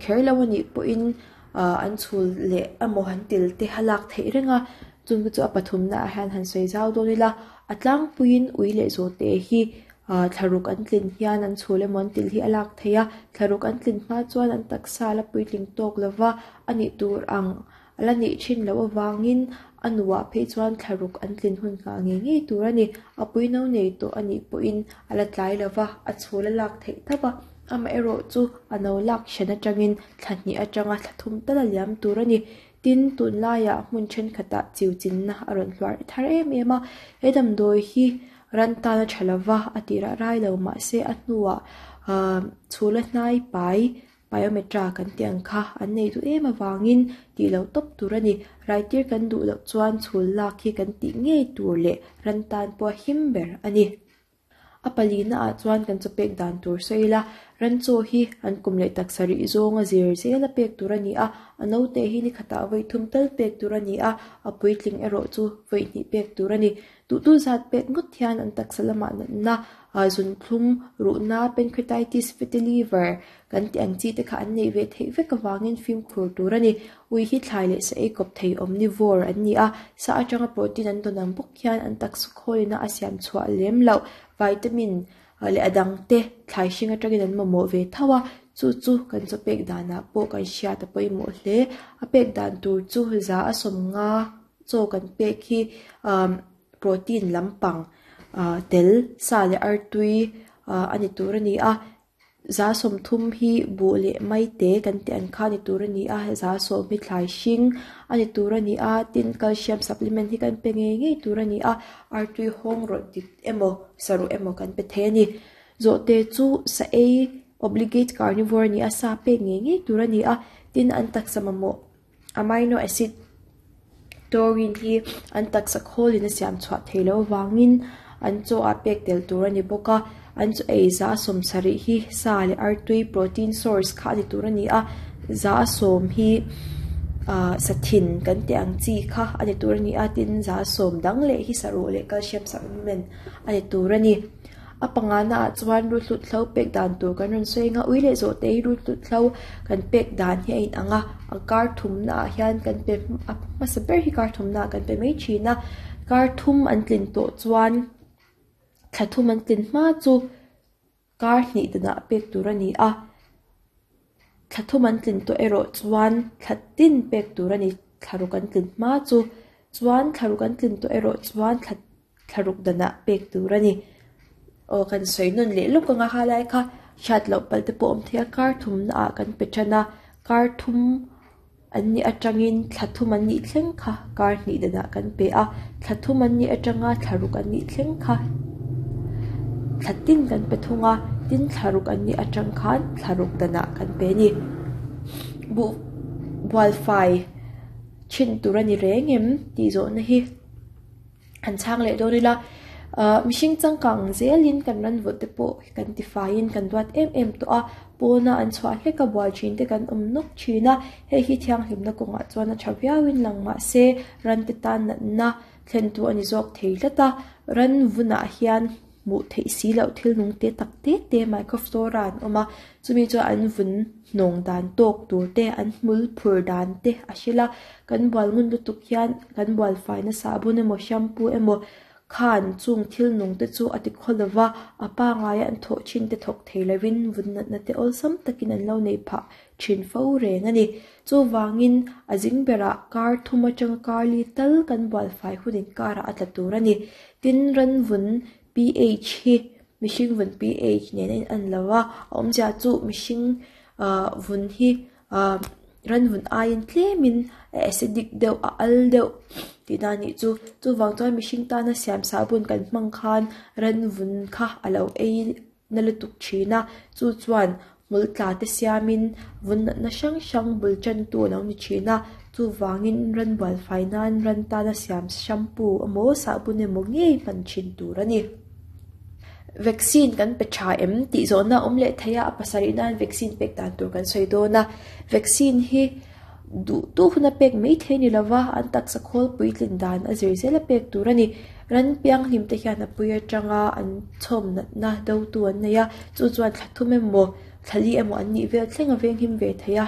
Kher lo a nih pawhin an chhul leh emaw an til te a lak theih reng a, chung te chu a pathumna ah hian han sawi zau dawn ila, a tlangpuiin ui leh zawhte hi ah thlaruk an tlin hian an chhul emaw an til hi a lak theih a, thlaruk an tlin hma chuan an taksa la puitling tawk lova a nih tur ang a la nih thin loh avangin a nuah phei chuan thlaruk an tlin hun nghah ngei ngei tur a ni, a pui no nei tawh a nih pawhin a la tlai lova a chhul a lak theih tho a. Amaherawhchu a no lak hran atangin thla hnih atanga thla thum tal a liam tur a ni. Tin, tunlaiah hmun thenkhatah chiu chinna a rawn hluar thar em em a. He damdawi hi ran tan a tha lova, a tirah rai lo mahse a hnuah chhula hnai pai, pyometra kan tih ang kha an nei duh em avangin tih loh tawp tur a ni. Raitir kan duh loh chuan chhul lak hi kan tih ngei tur leh ran tan pawh a him ber a ni. A palina ah chuan kan chaw pek dan tur sawi ila, ran chaw hi an kum leh taksa rih zawnga zir zela pek tur a ni a, a naute hi ni khatah vawi thum tal pek tur a ni a, a puitling erawh chu vawi hnih pek tur a ni. Duhtu zat pek ngawt hian an taksa lamah natna, zunthlum, ruhna, pancreatitis, fatty liver kan tih ang chi te kha an neih ve theih vek avangin fimkhur tur a ni. Ui hi thlai leh sa ei kawp thei omnivore an ni a, sa atanga protein an dawn ang bawk hian an taksa khawlina a siam chhuah lem loh vitamin leh a dang te thlai hring atangin an mamawh ve tho a, chu chu kan chaw pek danah pawh kan hriat a pawimawh hle. A pek dan tur chu za a sawmnga chaw kan pek hi protein lampang tel sa leh artui a ni tur a ni a. 30% hi buh leh maite kan tih ang kha a ni tur a ni a, 10% hi thlai hring a ni tur a ni a, tin calcium supplement hi kan pe ngei ngei tur a ni a, artui hawng rawt dik emaw saruh emaw kan pe thei a ni. Zawhte chu sa ei obligate carnivore a ni a, sa pek ngei ngei tur a ni a, tin an taksa mamawh amino acid taurine hi an taksa khawlin a siam chhuah theih loh avangin an chaw ah pek tel tur a ni bawk a, an chaw ei 70% hi sa leh artui protein source kha a ni tur a ni a, 10% hi ah sathin kan tih ang chi kha a ni tur a ni a, tin 10% dang leh hi saruh leh calcium supplement a ni tur a ni. A pangana ah chuan ruthlut hlo pek dan tur kan rawn sawi ang a, ui leh zawhte hi ruthlut hlo kan pek dan hi a inang a, a kar thumna ah hian kan pe a hmasa ber hi kar thumna ah kan pe mai thin a, kar thum an tlin tawh chuan thla thum an tlin hma chu kar hnih danah pek tur a ni a, thla thum an tlin tawh erawh chuan thla tin pek tur a ni, thla ruk an tlin hma chu chuan thla ruk an tlin tawh erawh chuan thla. Thlaruk danah pek tur a ni. Aw kan sawi nawn leh lawk anga ha lai kha hriat loh palh te pawh awm thei a, kar thumna ah kan pe tan a, kar thum an nih atangin thla thum an nih thleng kha kar hnih danah kan pe a, thla thum an nih atanga thla ruk an nih thleng kha thla tin kan pe thung a, tin thla ruk an nih atang khan thla ruk danah kan pe a ni. Buh bualfai thin tur a ni reng em tih zawhna hi. Han chhang leh dawn ila ahh mihring changkang zelin kan ran vawt te pawh kan ti faiin kan duat em em tawh a pawna an chhuah hlek a bual thin te kan awm nawk thin a hei hi thianghlimna kawngah chuan a tha viauin lang mahse ran te tan natna thlen tu a ni zawk thei tlat a ran vunah hian. hmuh theih si loh thil nung te tak te te microflora an awm a chumi chuan an vun hnawng dan tawk tur te an hmul phur dan te a hrilh a kan bual ngun lutuk hian kan bual fai na sahbun emaw shampoo emaw khan chung thil nung te chu a ti khaw lova a pangngai a an thawh thin te thawk thei lovin vun natna te awlsam takin an lo nei phah thin fo reng a ni chuvangin a zing berah kar thum atanga kar li tal kan bual fai hun inkarah a tla tur a ni. Tin, ranvun pH hi mihring vun pH nen a in lo a, a awmzia chu mihring vun hi ranvun aiin tlemin a acidic deuh a al deuh tih dan anih chu. Chuvang chuan mihring tana siam sahbun kan hmang khan ranvun kha a lo ei na lutuk thin a, chu chuan hmul tla te siamin vun natna hrang hrang bul tantu a lo ni thin a, chuvangin ran bual fai nan ran tana siam shampoo emaw sahbun emaw ngei hman thin tur a ni. Vaccine kan pe tha em tih zawhna a awm leh thei a, a pasarih nan vaccine pek dan tur kan sawi dawn a, vaccine hi duh duh huna pek mai thei a ni lova, an taksa khawl puitlin dan a zir zel a pek tur a ni. Ran pianghlim te hian a pui atanga an chhawm natna do tu an nei a, chu chuan thla thum emaw thla li emaw an nih vel thleng a venghim ve thei a.